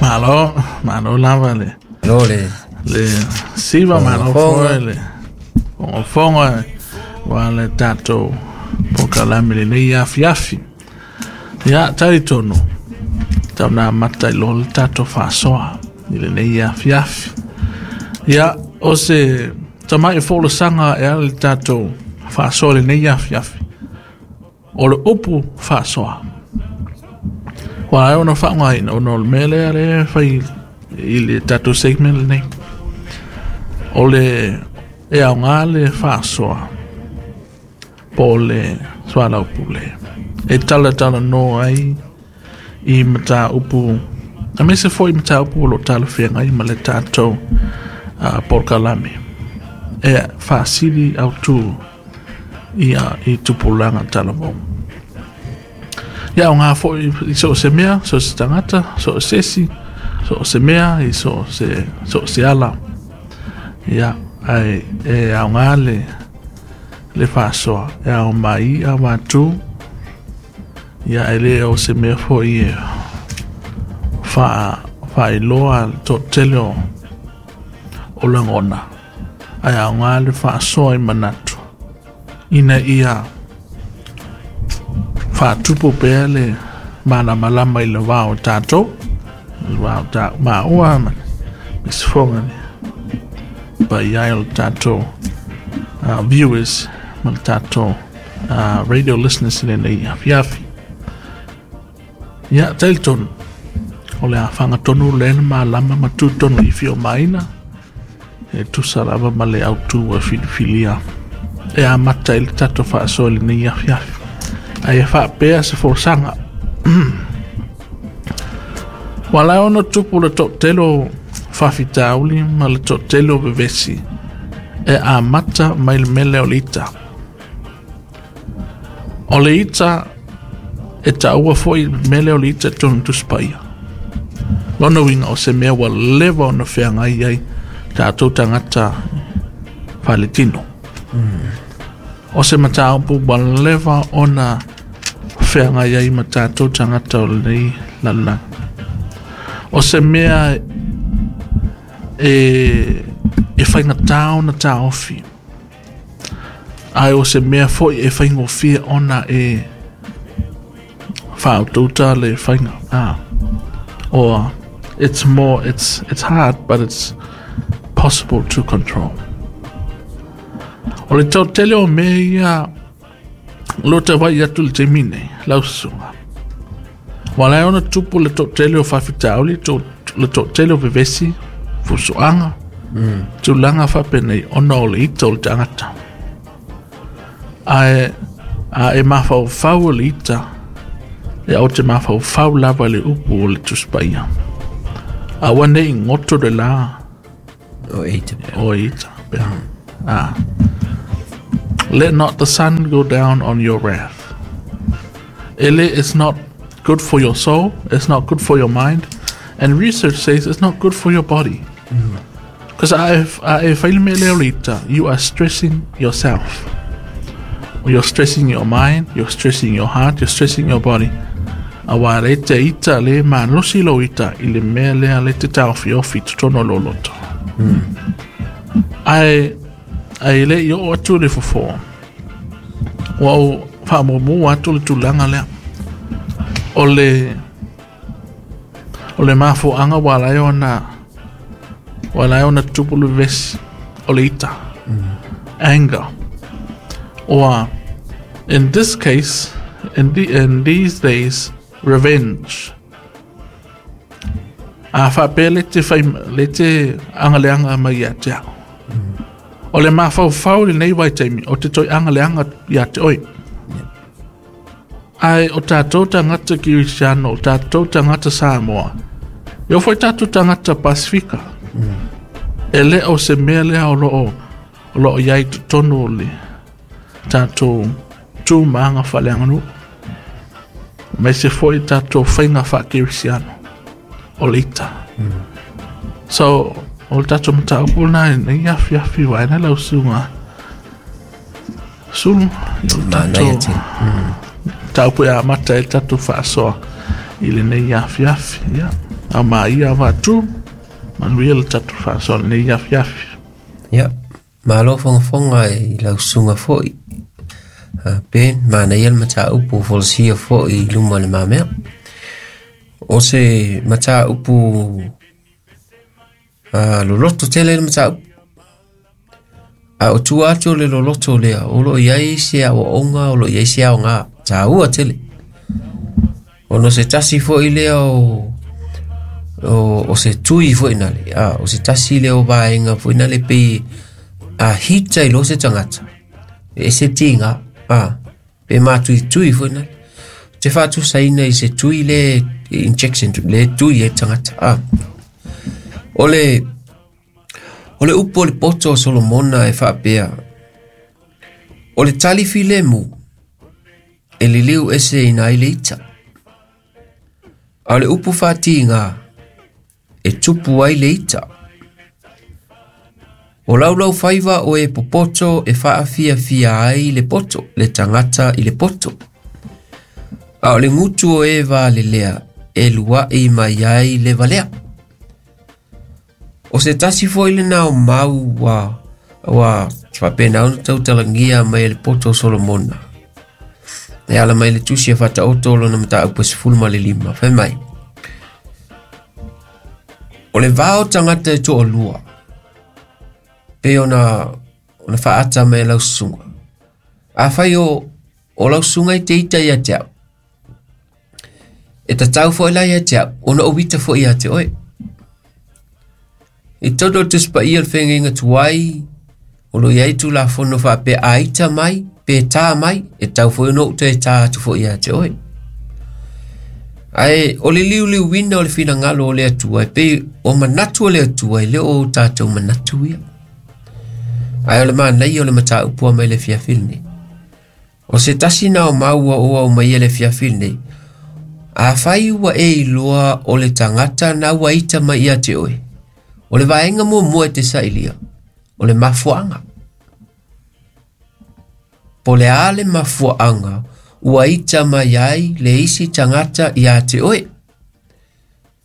Malo, malo lava le. Malo le. Le siva malo foi le. Fogofogo wa le tatou polokalame lenei afiafi. Ia, talitonu, tau na amata i loa le tatou faasoa i lenei afiafi. Ia, o se tamai folasaga e ala i le tatou faasoa i lenei afiafi, o le upu faasoa. Ua ala ai ona faaaogaina ona o le mea lea lea e fai i le tatou segment lenei. O le e aoga le faasoa po o le soalaupule e talatalanoa ai i mataupu aemaise foi mataupu o lo o talafeagai ma le tatou polokalame e faasili autu ia i tupulaga talavou. Ia aoga foi i so o se mea, so o se tagata, so o se isi, so o se mea, i so o se, so o se ala. Ia, ae e aoga le, le faasoa, e ao mai i'a vatu, ia e le o se mea foi e faailoa le toatele o, o lagona, ae aoga le faasoa i manatu, ina ia faatupu pea le malamalama i le va o tatou, le va o ta maua ma le sifoga le paia o le tatou viewers ma le tatou radio listeners i lenei afiafi. Ia, talitonu, o le a fagatonu lea na malama ma tutonu i fiomaina, e tusa lava ma le autu ua filifilia e amata i le tatou faasoa i lenei afiafi. Ae faapea se folasaga. Ua ala ai ona tupu le toatele o faafitauli ma le toatele o vevesi e amata mai le mea lea o le ita. O le ita e taua foi le mea lea o le ita i totonu o Tusi Paia. Lona uiga o se mea ua leva ona feagai ai tatou tagata faaletino. O se mataupu ua leva ona feagai ai ma tatou tagata o lenei lalolagi. O se mea e faigata ona taofi, ae o se mea foi e faigofie ona e faautauta le faiga. Or it's more, it's hard, but it's possible to control. O le toatele o mea ia o lo o tau atu i le taimi nei, lau susuga. Ua ala ai ona tupu le toatele o faafitauli, le toatele o vevesi, fusuaga, tulaga faapenei ona o le ita o le tagata. Ae a e mafaufau i le ita, e ou te mafaufau lava i le upu o le Tusi Paia. Aua ne i goto le la O e ita pea. O e ita pea. Let not the sun go down on your wrath. Ele, it's not good for your soul, it's not good for your mind, and research says it's not good for your body. Because a e fai le mea lea o le ita, you are stressing yourself. You're stressing your mind, you're stressing your heart, you're stressing your body. Aua le te ita le malosi lou ita i le mea lea le te taofiofi i totonu o lou loto. Ae, ae le i oo atu le fofo, ua ou faamuamua atu le tulaga lea. O le, o le mafuaaga ua ala ai ona, ua ala ai ona tupu le vevesi o le ita. Anger. Or, in this case, in these days, revenge. A faapea le te fai, le te agaleaga mai ia te au. O le mafaufau i lenei vaitaimi, o te toe agaleaga ia te oe. Ae o tatou tagata Kerisiano, o tatou tagata Samoa, e oo foi tatou tagata Pasifika. E le o se mea lea o lo o, o lo o i ai i totonu o le tatou tu ma aga faaleaganuu. Aemaise foi tatou faiga faakerisiano o le ita. So, o le tatou mataupu lena i lenei afiafi vaeane lau susuga Sulu, i o le Manaia tatou tele. mataupu e amata ai le tatou faasoa i lenei afiafi. Ia. Au maia faatu manuia le tatou faasoa lenei afiafi. Ia, malo fogafoga i lau susuga foi. Ben, manaia le mataupu folasia foi i luma o le mamea. O se mataupu loloto tele le mataupu. A o tua atu o le loloto lea, o lo o i ai se aoaoga, o lo o i ai se aoga taua tele. Ona o se tasi foi lea o se tui foi nale, o se tasi lea o vaega foi nale pei a hita i lo se tagata, e se tiga, pe matuitui foi nale. Te faatusaina i se tui le injection, le tui e tagata. O le upu o le poto o Solomona e faapea, o le tali filemu e liliu ese ina ai le ita. A o le upu faatiga e tupu ai le ita. O laulau faiva o e popoto e faafiafia ai le poto, le tagata i le poto. A o le gutu o e valelea e luai mai ai le valea. O se tasi foi lena o mau ua faapena ona tautalagia mai e le poto o Solomona. E ala mai le tusi e faataoto lona mataupu e 15. Fai mai, o le vao tagata e toalua, pe ona faata mai lau susuga. Afai o lau susuga i te ita ia te au, e tatau foi la ia te au, ona o ita foi ia te oe. I tonu o le Tusi Paia o le Feagaiga Tuai, o lo o i ai tulafono faapea a ita mai, pe tā mai, e tau foi ona ou toe tā atu foi ia te oe. Ae o le liuliuina o le finagalo o le Atua, e pei o manatu o le Atua, e le o tatou manatu ia. Ae o le manaia o le mataupu mai le afiafi lenei. O se tasi na o maua o au mai le afiafi lenei, afai ua e iloa o le tagata na ua ita mai ia te oe, o le vaega muamua e te sailia, o le mafuaaga. Po le a le mafuaaga ua ita mai ai le isi tagata ia te oe.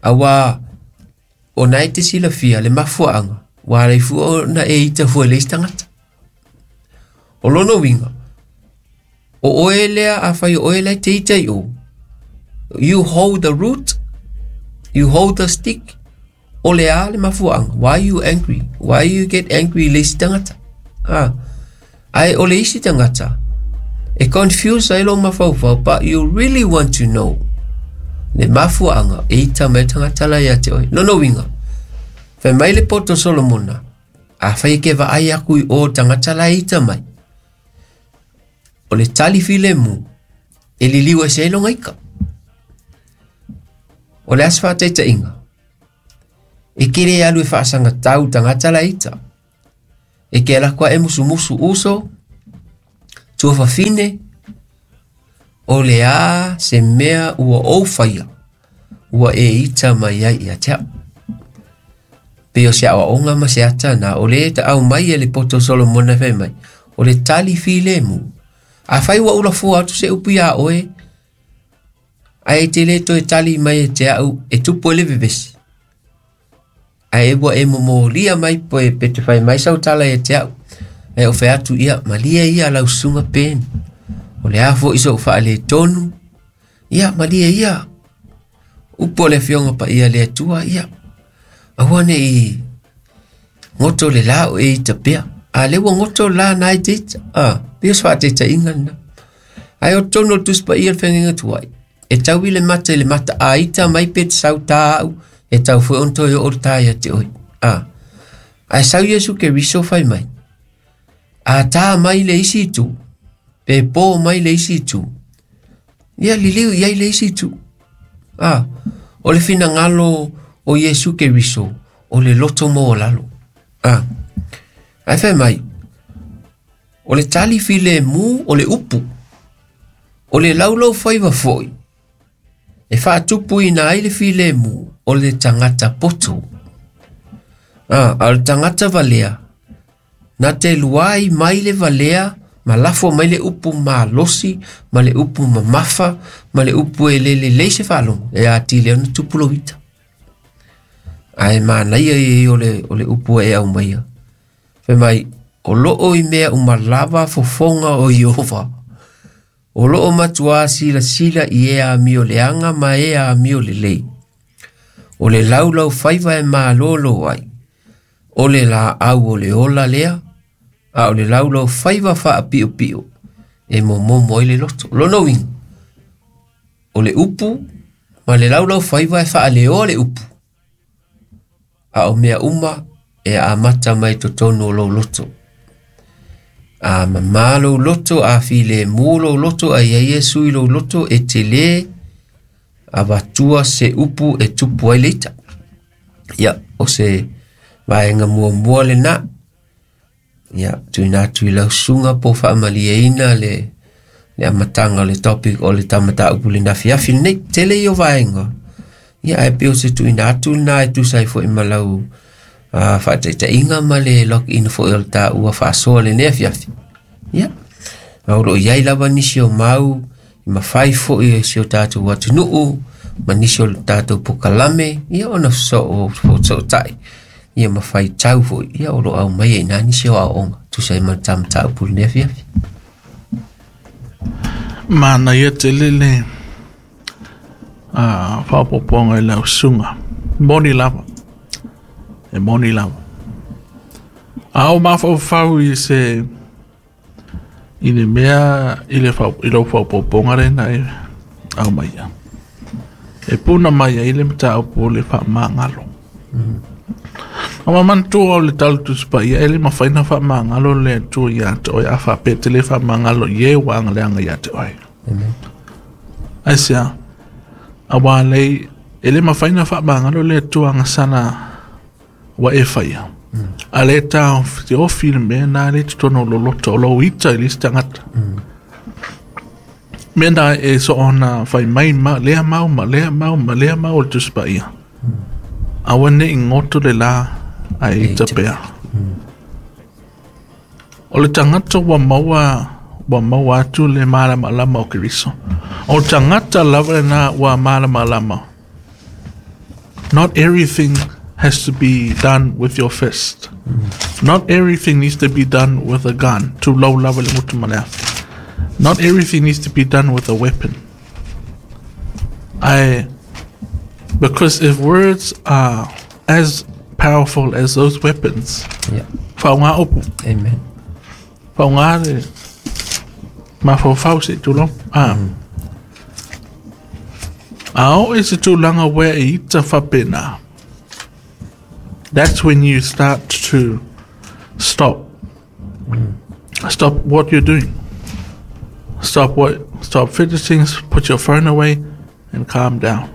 Aua o na e te silafia le mafuaaga, ua alai fua ona e ita fua i le isi tagata. O lona uiga, o oe lea afai o oe lea te ita i o, you hold the root, you hold the stick. O le a le mafuaaga. Why you angry? Why you get angry i le isi tagata? Ae o le isi tagata, e confuse ai lo mafaufau, but you really want to know le mafuaaga e ita mai tagata la ia te oe. Lona uiga, fai mai le poto Solomona, afai e ke vaai aku i o tagata la e ita mai, o le tali filemu e liliu e se ai longa ika. O le ase faataitaiga, e kere alu e faasagatau tagata la ita. E ke ala koa e musumusu uso, tuafafine, o le a se mea ua ou faia, ua e ita mai ai ia te au. Pe o se aoaoga ma se ata na, o le ta au mai e le poto Solomona fai mai, o le tali filemu. Afai ua ulafua atu se upu ia oe, ae te le toe tali mai e te au, e tupu e le vevesi. Ae ua e momolia mai poe pe te fai mai sautala e te au. Ae o fai atu ia, malia ia lau susuga peni. O le a foi sou faale tonu. Ia, malia ia. Upu o le afioga paia le Atua, ia. Aua nei goto le la o e ita pea. A le ua goto la na e te ita. Pei o se faataitaiga lena. Ae o totonu o le Tusi Paia o le Feagaiga Tuai, e tau i le mata i le mata a ita mai pe te sau tā au, e tau foi ona toe oo le tā ia te oe. Ae sau Iesu Keriso fai mai, a tā mai le isi itu, pe pō mai le isi itu, ia liliu i ai le isi itu. O le finagalo o Iesu Keriso, o le loto maualalo. Ae fai mai, o le tali filemu o le upu, o le laulau faiva foi, e faatupuina ai le filemu o le tagata poto. A o le tagata valea, na te luai mai le valea, ma lafo mai le upu malosi, ma le upu mamafa, ma le upu e lelelei se faalogo, e atili ai ona tupu lou ita. Ae manaia ia o le upu e aumaia. Fai mai, o loo i mea umalava fofoga o Ieova. O loo matuā silasila i e amio leaga ma e amio lelei. O le laulau faiva e malolo ai. O le laau o le ola lea, a o le laulau faiva faapiopio e momomo ai le loto. Lona uiga, o le upu ma le laulau faiva e faaleoa le upu. A o mea uma e amata mai totonu o lou loto. A mamā lou loto, a filemu lou loto, a ia Iesu i lou loto, e te lē avatua se upu e tupu ai le ita. Ia, o se vaega muamua lenā. Ia, tuuina atu i lau susuga po o faamalieina le amataga o le topic o le tamataupu i le afiafi lenei. Tele ia o vaega. Ia, ae pei o se tuuina atu lenā e tusa ai foi ma lau faataitaiga ma le login foi o le taua faasoa lenei afiafi. Ia, ma o loo i ai lava nisi o mau i mafai foi e si o tatou atunuu ma nisi o le tatou pokalame, ia ona fesootai ia ma faitau foi, ia o loo aumaia i ina nisi o aoaoga tusa ai ma le tamataupu i lenei afiafi. Manaia tele le faaopoopoga i lau susuga. Moni lava. E moni lava. A o mafaufau i se i le mea i le i lou faaopoopoga lena e aumaia. E puna mai ai le mataupu o le faamagalo. O manatua o le tala Tusi Paia e le mafai ona faamagalo le Atua ia te oe a faapea e te le faamagalo i e ua agaleaga ia te oe. Amen. Aisea? Auā lei e le mafai ona faamagalo le Atua agasala ua e faia. A le taofiofi le mea na le totonu o lou loto o lou ita i le isi tagata. Mea na e soona fai mai ma lea mau ma lea mau ma lea mau o le Tusi Paia. Aua ne i goto le la ae ita pea. O le tagata ua maua ua maua atu le malamalama o Keriso. O le tagata lava lena ua malamalama. Not everything has to be done with your fist. Not everything needs to be done with a gun. Tulou lava le gutu ma le afi. Not everything needs to be done with a weapon. I because if words are as powerful as those weapons, Yeah. faaaoga upu, Amen. faaaoga le mafaufau se i tulou. Ah. A oo i se tulaga ua e ita faapena. That's when you start to stop. Stop what you're doing. Stop what stop fidgeting, put your phone away and calm down.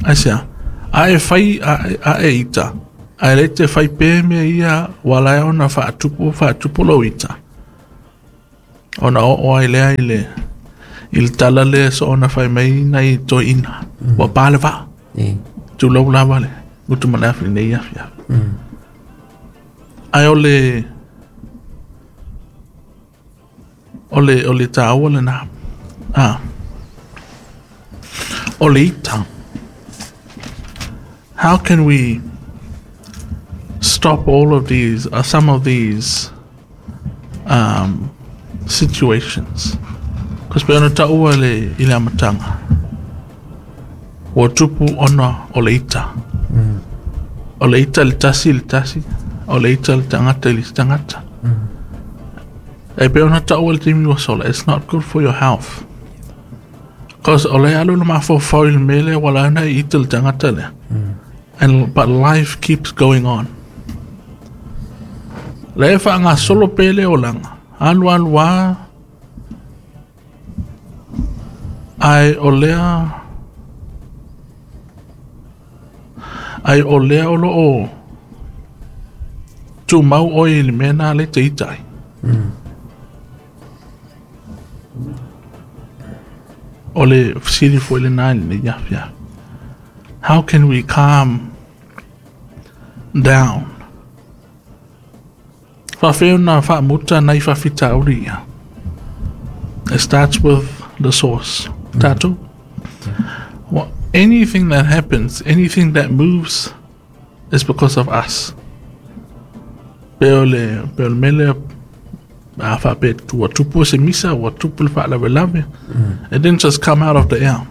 Aisea, a e fai a e ita, ae le te fai pea mea ia ua ala ai ona faatupu faatupu lou ita. Ona oo ai lea i le i le tala lea soona fai mai nai toeaiina, ua pa le vaa. Tulou lava le gutu ma le afi i lenei afiafi. Ae o le o le o le taua lenā. Ah. O le ita. How can we stop all of these, or some of these situations? Because pei ona taua le, i le amataga, ua tupu ona o le ita. O le ita i le tasi i le tasi, o le ita i le tagata i le isi tagata. E pei ona taua i le taimi ua sola, it's not good for your health. Cause o le alu le mafaufau i le mea lea ua ala ai ona e ita i le tagata lea. And but life keeps going on. Lea e faagasolo pea le olaga, alu alu lava, ae o lea ae o lea o lo o tumau oe i le mea lena lea e te ita ai. O le fesili foi lenā i lenei afiafi. How can we calm down? Faafefea ona faamuta nai faafitauli ia? It starts with the source. Tatou. Well, anything that happens, anything that moves It's because of us. Pe o le mele a whape ua tupu se misa, ua tupu le whaalavelave. It didn't just come out of the air.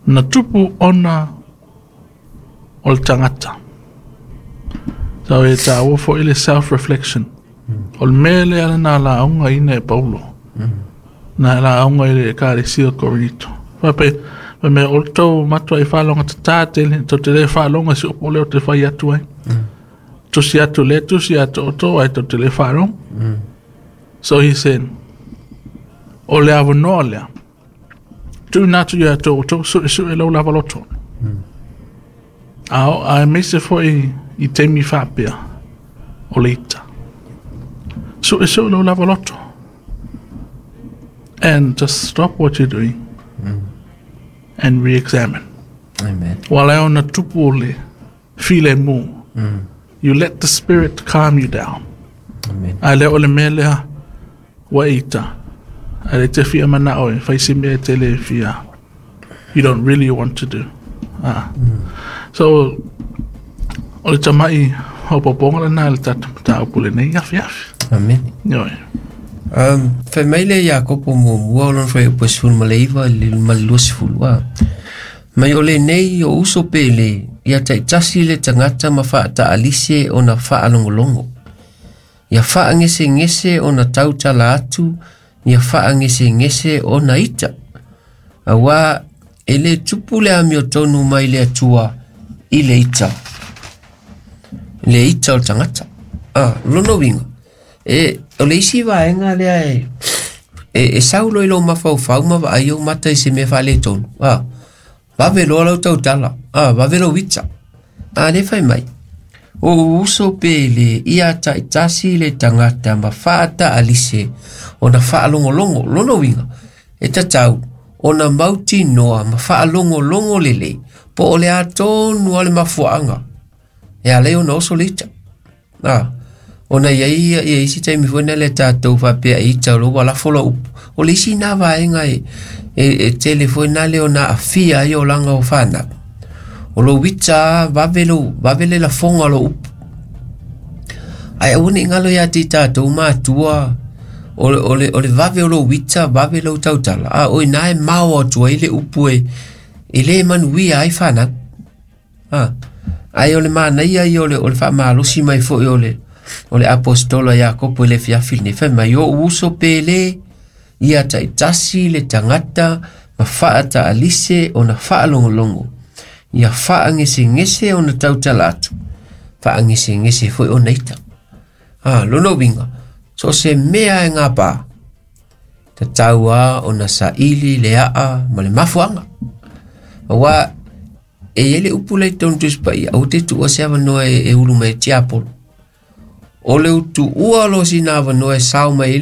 Na tupu ona o le tangata. So e tāua fo ile self-reflection. O le mele ala nā la aunga ina e Paulo. Nā la aunga ile e kāre sio Korinito. Whape, me o tau matua i whalonga te tele, tau te le whalonga si opo leo te whai atu ai. Tusi atu le, tusi atu o tō ai tau te le whalonga. So he said, o le awa noa lea, tu natu ia tō tō su su e lau lava loto. A mese fo i te mi whapea o le ita. Su e su lau lava loto. And just stop what you're doing. And re-examine. Amen. Wala ona tupu o le file mu. You let the spirit calm you down. Amen. A le o le mea lea wa ita. A le te fia mana oe, whai si mea te le fia. You don't really want to do. So, o le tamai o poponga le nā le tata tā upule nei afi afi. Amen. Yoi. Fai mai le Iakopo muamua o lona fuaiupu e 19 i le 22. Mai o lenei o uso pele ia taitasi le tagata ma faataalise ona faalogologo. Ia faagesegese ona tautala atu, ia faagesegese ona ita. Auā e lē tupu le amiotonu mai le Atua i le ita. Le ita o le tagata. Lona uiga, e o le isi vaega lea e saulo i lou mafaufau ma vaai ou mata i se mea faaletonu. Vave loa lau tautala, vave lou ita. Le fai mai. O uso pele ia taitasi le tagata ma faataalise ona faalogologo. Lona uiga, e tatau ona mautinoa ma faalogologo lelei po o le atonu a le mafuaaga e alai ona oso le ita. Ona ia ia isi taimi foi na le tatou faapea ita o lou alafo lau upu. O le isi nā vaega e tele foi na le ona afia ai olaga o fanau. O lou ita vave le lafoga o lou upu. Ae aua nei galo ia te i tatou matua o le vave o lou ita, vave lou tautala. O ina e mao atu ai le upu e le manuia ai fanau. Ae o le manaia ia o le faamalosi mai foi o le apostola Iakopo i le fiafi lenei. Fai mai o uso pele ia taitasi le tagata ma faataalise ona faalogologo. Ia faagesegese ona tautala atu, faagesegese foi ona ita. Lona uiga, so se mea e gapā, tatau a ona saili le aa ma le mafuaga. Auā e iai le upu lai tonu Tusi Paia, aua te tuua se avanoa e ulu mai e tiapolo. O le utuua lo sina avanoa e sao mai